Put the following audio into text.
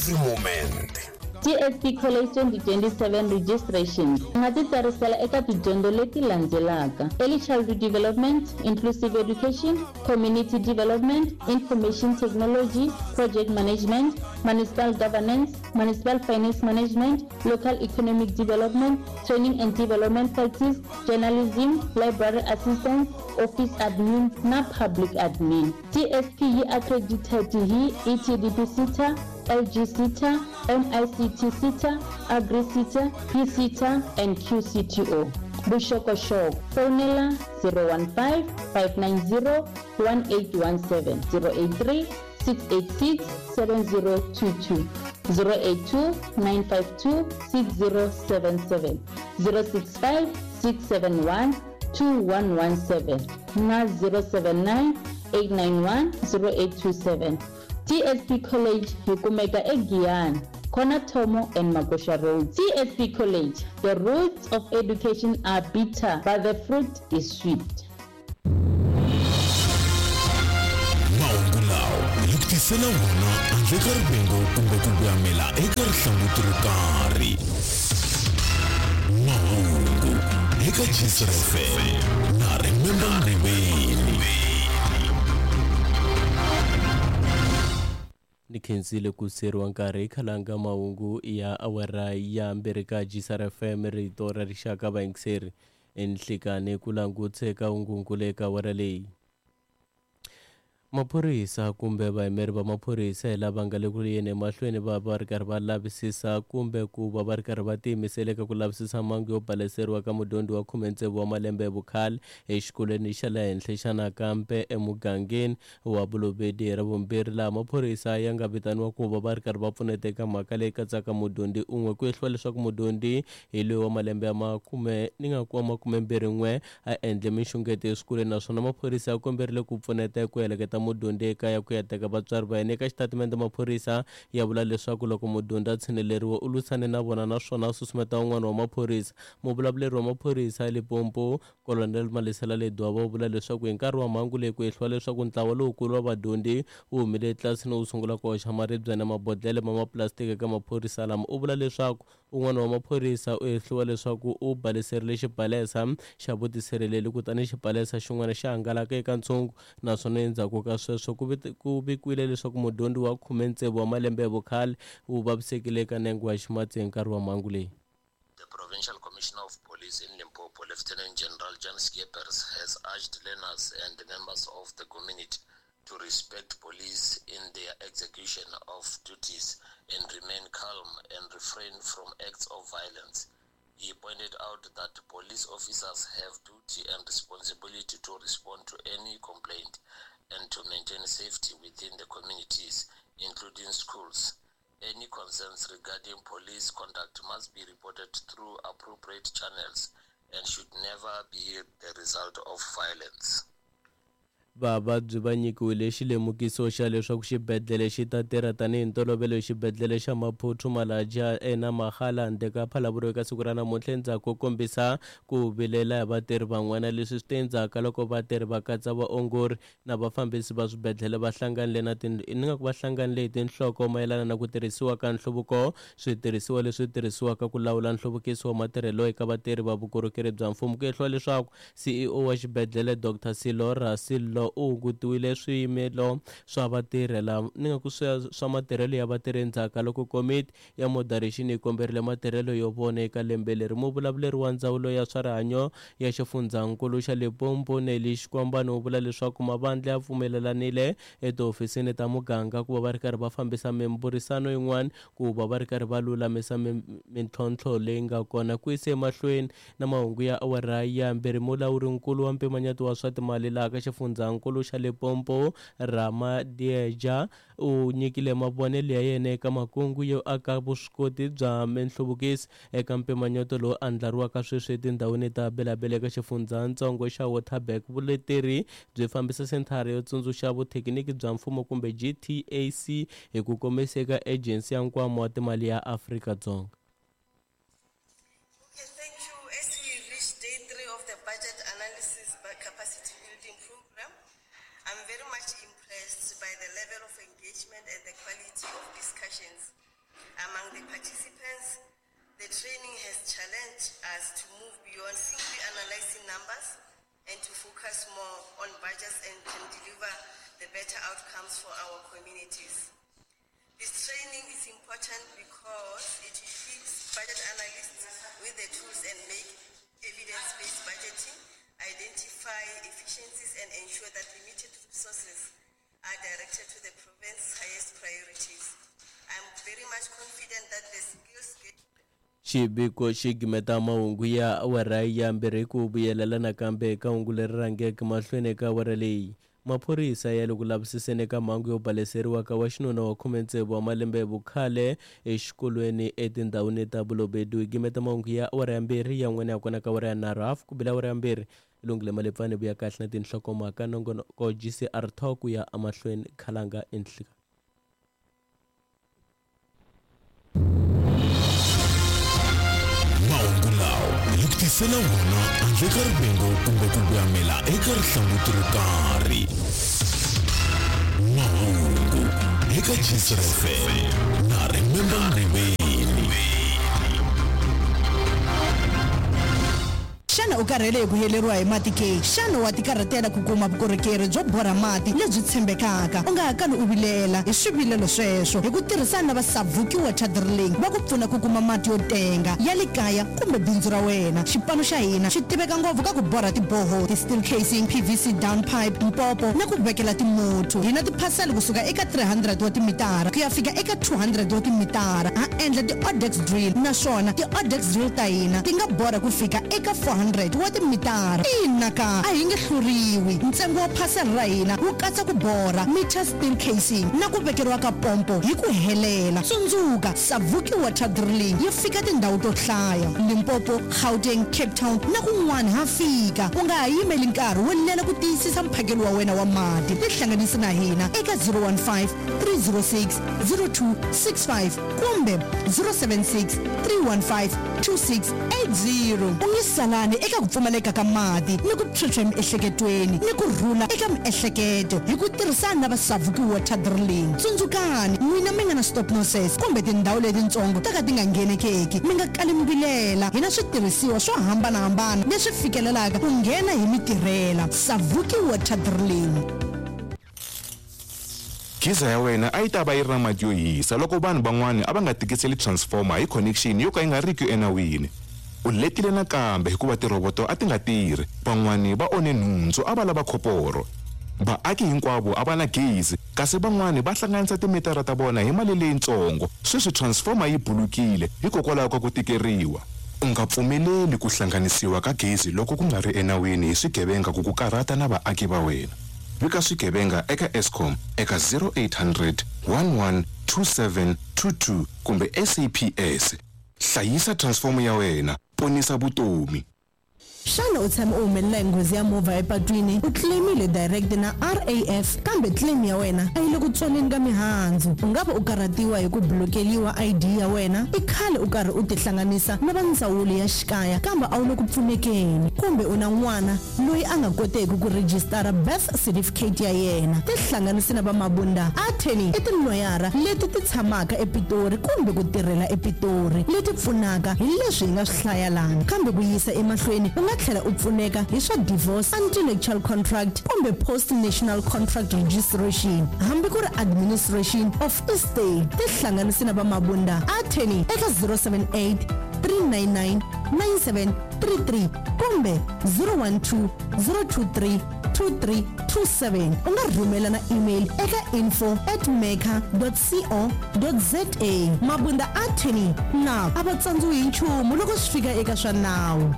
Every moment. TSP College 2027 Registrations U nga titsarisela eka tidyondzo leti landzelaka, Early Childhood Development, Inclusive Education, Community Development, Information Technology, Project Management, Municipal Governance, Municipal Finance Management, Local Economic Development, Training and Development Practice, Journalism, Library Assistance, Office Admin na Public Admin. TSP yi accredited hi ETDP SETA, LG SETA, MICT SETA, Agri SETA, PSETA and QCTO. Vuxokoxoko, Fonela 015 590 1817, 083 686 7022, 082 952 6077, 065 671 2117 na 079 891 0827. TSP College yi kumeka eGiyani, Corner Thomo and Magosha Road. TSP College, the roots of education are bitter but the fruit is sweet. Mahungu lawa hi ku tisela wona handle ka rivengo kumbe ku voyamela eka rihlanguti ro karhi. Mahungu eka Gcr FM na Remember Mriveni. Ni khensile ku siyeriwa nkarhi khalanga mahungu ya awara ya mbirhi ka GCR FM rito ra rixaka vayingiseri enhlikani ku langutse ka hungunkulu eka awara leyi. Maphorisa kumbe vayimeri va maphorisa hi lava nga le ku yeni emahlweni va va ri karhi va lavisisa kumbe ku va va ri karhi va tiyimisela eka ku lavisisa mhangu yo baleseriwa ka mudyondzi wa 16 wa malembe hi vukhale exikolweni xa le henhla xa nakambe emugangeni wa Bolobedu hi Ravumbirhi laha maphorisa ya nga vitaniwa ku va va ri karhi va pfuneta eka mhaka leyi katsaka mudyondzi un'we ku hehliwa leswaku mudyondzi hi loyi wa malembe ya makume ni nga ku wa makumembirhi-n'we a endle minxungeto eswikolweni naswona maphorisa ya komberile ku pfuneta eku heleketa mudyondzi ekaya ku ya teka vatswari va yena. Eka xitatimende maphorisa ya vula leswaku loko mudyondzi a tshineleriwa u lwisane na vona naswona a susumeta un'wana wa maphorisa. Muvulavuleri wa maphorisa eLimpopo, Colonel Malesela Ledwaba u vula leswaku hi nkarhi wa mhangu leyi ku hehliwa leswaku ntlawa lowukulu wa vadyondzi wu humile etlilasini wu sungula ku hoxa maribye na mabodlhele ma mapulasitiki eka maphorisa lama. U vula leswaku un'wana wa maphorisa u hehliwa leswaku u baleserile xibalesa xa vutisirheleli kutani xibalesa xin'wana xi hangalaka eka ntshungu naswona endzhaku ka sweswo ku ku vikiwile leswaku mudyondzi wa 16 wa malembe hi vukhale u vavisekile eka nenge wa ximatsi hi nkarhi wa mhangu leyi. The Provincial Commissioner of Police in Limpopo, Lieutenant General Jan Schippers, has urged learners and members of the community to respect police in their execution of duties and remain calm and refrain from acts of violence. He pointed out that police officers have duty and responsibility to respond to any complaint and to maintain safety within the communities, including schools. Any concerns regarding police conduct must be reported through appropriate channels and should never be the result of violence. Vavabyi va nyikiwile xilemukiso xa leswaku xibedlhele xi ta tirha tanihi ntolovelo exibedlhele xa Maphuthu Malatjie eNamagala handle ka Phalaborwa eka siku ra namuntlha endzhaku ko kombisa ku vilela hi vatirhi van'wana. Leswi swi te endzhaku ka loko vatirhi va katsa vaongori na vafambisi va swibedlhele va hlanganile na ni nga ku va hlanganile hi tinhloko mayelana na ku tirhisiwa ka nhluvuko switirhisiwa leswi tirhisiwaka ku lawula nhluvukiso wa matirhelo eka vatirhi va vukorhokeri bya mfumo. Ku hehliwa leswaku CEO wa xibedlhele Dr Sello Rasillo u hungutiwile swiyimelo swa vatirhela ni nga ku swa matirhelo ya vatirhi endzhaku ka loko komiti ya moderation yi komberile matirhelo yo vona eka lembe leri. Muvulavuleri wa ndzawulo ya swa rihanyo ya xifundzhankulu xa Limpopo Nelly Xikwambane u vula leswaku mavandla ya pfumelelanile etihofisini ta muganga ku va va ri karhi va fambisa mimbhurisano yin'wana ku va va ri karhi va lulamisa mintlhontlho leyi nga kona. Ku yise emahlweni na mahungu ya awara ya mbirhi mulawurinkulu wa mpimanyeto wa swa timali laha ka xifundzhankulu xa Limpopo Ramadieja u nyikile mavonelo ya yena eka makungu yo aka vuswikoti bya minhluvukiso eka mpimanyeto lowu andlariwaka sweswi etindhawini ta Bela-Bela eka xifundzhantsongo xa Waterberg. Vuleteri byi fambisa senthara yo tsundzuxa vuthekiniki bya mfumo kumbe GTAC hi ku komisa eka Ejensi ya Nkwama wa Timali ya Afrika-Dzonga. Okay, thank you. As we reach day 3 of the budget analysis by capacity building program, I'm very much impressed by the level of engagement and the quality of discussions. Among the participants, the training has challenged us to move beyond simply analyzing numbers and to focus more on budgets and can deliver the better outcomes for our communities. This training is important because it equips budget analysts with the tools and make evidence-based budgeting, identify efficiencies and ensure that limited resources are directed to the province's highest priorities. I'm very much confident that the skills Xiviko xi gimeta mahungu ya awara ya mbirhi hi ku vuyelela nakambe eka hungu leri rhangeke mahlweni eka awara leyi. Maphorisa ya le ku lavisiseni eka mhangu yo baleseriwa ka wa xinuna wa 16 wa malembe hi vukhale exikolweni etindhawini ta Bolobedu. Hi gimeta mahungu ya awara ya mbirhi yan'wana ya kona ka awara ya nharhu hafu ku bile awara ya mbirhi. Lungile Malepfane vuya kahle na tinhlokomhaka nongonoko GCR Talk ku ya emahlweni khalanga enhlika. Mahungu lawa hi ku tisela wona handle ka rivengo kumbe ku voyamela eka rihlanguti ro karhi. Mahungu eka Gcr FM na Remember Ngqiveni. Xana u karhele hi ku heleriwa hi mati ke? Xana wa tikarhatela ku kuma vukorhokeri byo borha mati lebyi tshembekaka? U nga ha kali u vilela hi swivilelo sweswo. Hi ku tirhisana na va Savuki Water Drilling, va ku pfuna ku kuma mati yo tenga ya le kaya kumbe bindzu ra wena. Xipano xa hina xi tiveka ngopfu ka ku borha ti-borehole, ti-steel casing, PVC down pipe, mpopo na ku vekela timuthu. Hi na tiphasela kusuka eka 300 wa timitara ku ya fika eka 200 wa timitara. Ha endla ti-odex drill naswona ti-odex drill ta hina ti nga borha ku fika eka 400 wa timitara. Ina ka, a hi nge hluriwi. Ntsengo wa phasela ra hina wu katsa ku borha, meter steel casing na ku vekeriwa ka pompo hi ku helela. Tsundzuka, Savuki Water Drilling yi fika tindhawu to hlaya, Limpopo, Gauteng, Cape Town na kun'wana ha fika. U nga ha yimeli nkarhi wo lela ku tiyisisa mphakelo wa wena wa mati. Tihlanganisi na hina eka 015 306 0265 kumbe 076 315 2680. U nge salani eka ku pfumaleka ka mati ni ku phyuphya emiehleketweni ni ku rhula eka miehleketo hi ku tirhisana na va Savuki Water Drilling. Tsundzukani, n'wina mi nga na stop nonsense kumbe tindhawu letitsongo to ka ti nga nghenekeki, mi nga kali mi vilela. Hi na switirhisiwa swo hambana-hambana leswi fikelelaka ku nghena hi mi tirhela. Savuki Water Drilling. Geyser ya wena a yi ta va yi ri na mati yo hisa loko vanhu van'wana a va nga tikiseli transformer hi connection yo ka yi nga riki enawini. U letile nakambe hikuva tirhoboto a ti nga tirhi. Van'wana va onhe nhundzu a va lava khoporo. Vaaki hinkwavo a va na gezi kasi van'wana va hlanganisa timitara ta vona hi mali leyitsongo. Sweswi transformer yi bulukile hikokwalaho ka ku tikeriwa. U nga pfumeleli ku hlanganisiwa ka gezi loko ku nga ri enawini hi swigevenga ku ku karhata na vaaki va wena. Vika swigevenga eka Eskom eka 0800 11 2722 kumbe SAPS. Hlayisa transformer ya wena, ponisa vutomi. Xana u tshame u humelela hi nghozi ya movha epatwini? U claim-ile direct na RAF kambe claim ya wena a yi le ku tswaleni ka mihandzu. U nga va u karhatiwa hi ku blokeliwa ID ya wena? I khale u karhi u tihlanganisa na va ndzawulo ya xikaya kambe a wu le ku pfunekeni. Kumbe u na n'wana loyi a nga koteki ku rejistara birth certificate ya yena. Tihlanganisi na va Mabunda Attorney i tiloyara leti ti tshamaka ePitori kumbe ku tirhela ePitori leti pfunaka hi leswi hi nga swi hlaya lana. Kambe ku yisa emahlweni u nga tlhela u pfuneka hi swa divorce, anti-nuptial contract kumbe post-national contract registration hambi ku ri administration of estate. Tihlanganisi na va Mabunda Attorney eka 078 399 9733 kumbe 012 023 2327. U nga rhumela na email eka info at maker co za. Mabunda Attorney na a va tsandziwi hi nchumu loko swi fika eka swa nawu.